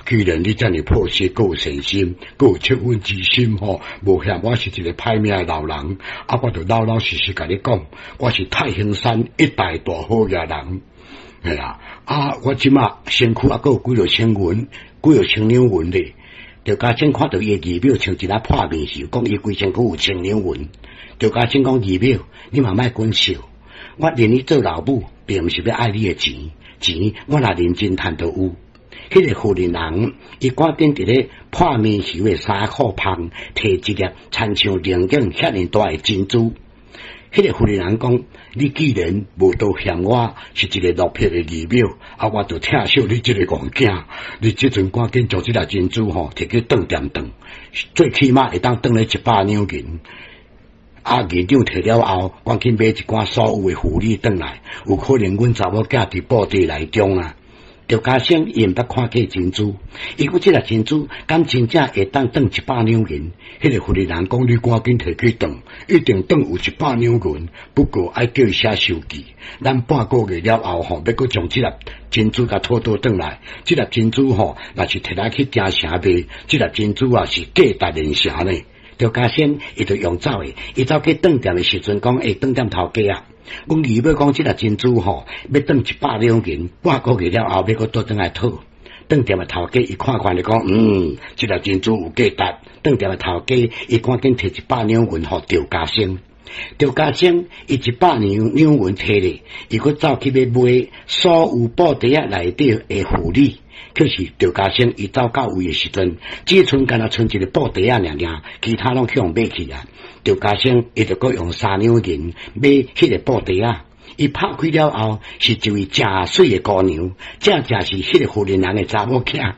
既然你遮爾樸實，閣有善心，閣有惻隱之心吼，無嫌我是一个歹命的老人，啊，我就老老實實共你講，我是太行山一帶大好額人，嘿啊，啊，我這馬身軀猶閣有幾落千銀，幾落千兩銀咧。趙家清看著伊的儀表，像一粒破面油，講伊規身軀有千兩銀。趙家清講儀表，你嘛莫緊笑，我認你做老母，並毋是欲愛你的錢，錢我若認真趁都有。彼个婦人人，伊趕緊佇咧破棉油的衫褲旁，提一粒親像龍井遐爾大的珍珠。彼个婦人人講：你既然無多嫌我是一个落魄的義母，啊，我就疼惜你這个戇囝。你這陣趕緊將這粒珍珠吼，提去當店當，最起碼會當當咧100兩銀。啊，銀兩提了後，趕緊買一寡所有的婦女轉來，有可能阮查某囝佇布袋內中啊。趙家生伊毋捌看過珍珠，伊講這粒珍珠敢真正會當當100兩銀？彼个婦人人講，你趕緊提去當，一定當有一百兩銀。不過愛叫伊寫收據，咱半個月了後吼，欲閣將這粒珍珠共討倒轉來。這粒珍珠吼，若是提來去京城賣，這粒珍珠啊是價值連城呢。趙家生伊就用走的，伊走去當店的時陣講，欸，當店頭家啊，阮二母講這粒珍珠吼，欲當100兩銀，半個月了後欲閣倒轉來討。當店的頭家伊看看就講，嗯，這粒珍珠有價值。當店的頭家伊趕緊提一百兩銀予趙家生。趙家生伊一百兩兩銀提咧，伊閣走去欲買所有布袋仔內底的婦女。可是趙家生伊走到位的時陣，只賰干焦賰一个布袋仔爾爾，其他攏去予買去啊。趙家生伊就閣用三兩銀買彼个布袋仔，伊拍開了後，是一位誠媠的姑娘，正正是彼个婦人人的查某囝。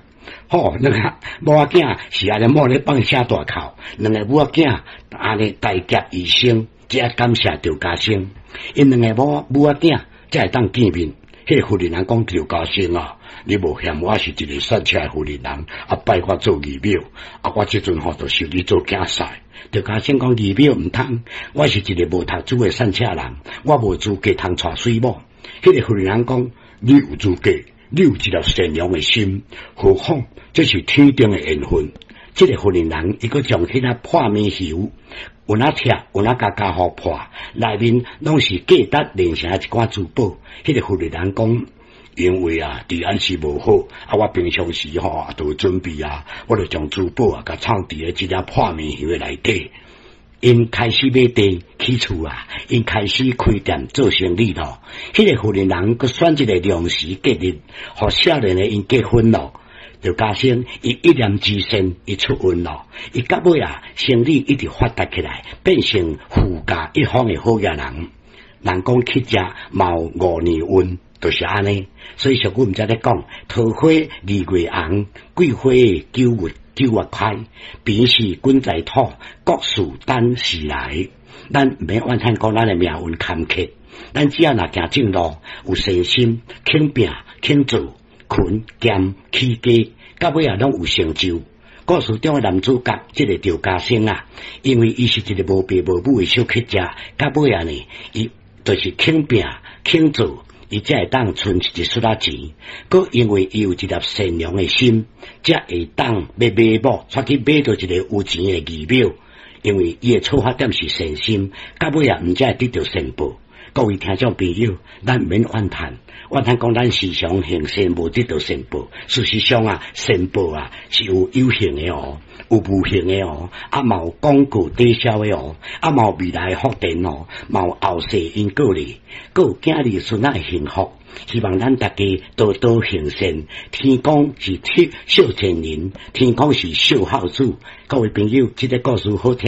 吼，兩个某仔囝是按呢某咧放聲大哭，兩个母仔囝按呢大劫餘生，才感謝趙家生。𪜶兩个某母仔囝才會當見面。彼个婦人人講趙家生啊，你無嫌我是一个散赤的婦人人，啊拜我做義母，啊我這陣吼就收你做囝婿。趙家生講義母毋通，我是一个無讀書的散赤人，我無資格通娶媠某。彼个婦人人講，你有資格，你有一粒善良的心，何況這是天定的緣分。這个婦人人伊閣將彼粒破棉油，有哪拆，有哪共家予破，內面攏是價值連城一寡珠寶。彼个婦人人講，因為啊，治安是無好，啊，我平常時吼都有準備啊，我就將珠寶啊，共藏佇咧這粒破棉油的內底。𪜶開始買地起厝啊，𪜶開始開店做生意咯。彼个婦人人閣選一個良時吉日，予少年的𪜶結婚咯。趙家生伊一念之善，伊出運咯。伊到尾啊，生意一直發達起來，變成富甲一方的好額人。人講乞食嘛有五年運，就是按呢。所以俗語毋才咧講，桃花二月紅，桂花九月開，便是滾在土，國事等時來。咱毋免怨嘆講咱的命運坎坷，咱只要若行正路，有善心，肯拼肯做，勤儉起家，到尾啊攏有成就。故事中的男主角，這个趙家生啊，因為伊是一个無爸無母的小乞食，到尾啊呢，伊就是肯拼肯做，伊才會當存一絲仔錢。閣因為伊有一粒善良的心，才會當欲買某，出去買著一个有錢的義母。因為伊的出發點是善心，到尾啊毋才會得著善報。各位聽眾朋友，咱毋免怨嘆，怨嘆講咱時常行善無得著善報。事實上啊，善報啊是有有形的哦，有無形的哦，啊嘛有廣告抵銷的哦，啊嘛有未來的福田哦，嘛有後世因果咧，閣有囝兒孫仔的幸福。希望咱大家多多行善。天公是笑善人，天公是笑孝子。各位朋友，這个故事好聽。